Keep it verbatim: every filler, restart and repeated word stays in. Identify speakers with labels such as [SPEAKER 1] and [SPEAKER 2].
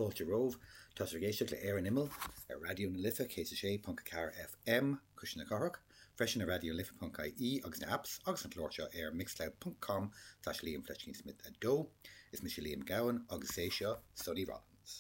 [SPEAKER 1] Fáilte romhaibh, tá sibh ag éisteacht le Ar an Imeall ar Raidió na Life céad a sé ponc a ceathair FM Cuisle na Cathrach, freisin ar Raidió Life ponc ie agus na apps agus an clár seo ar mixcloud ponc com slash Liam Fletching Smith a dó. Is mise Liam Gowan agus é seo Sonny Rollins.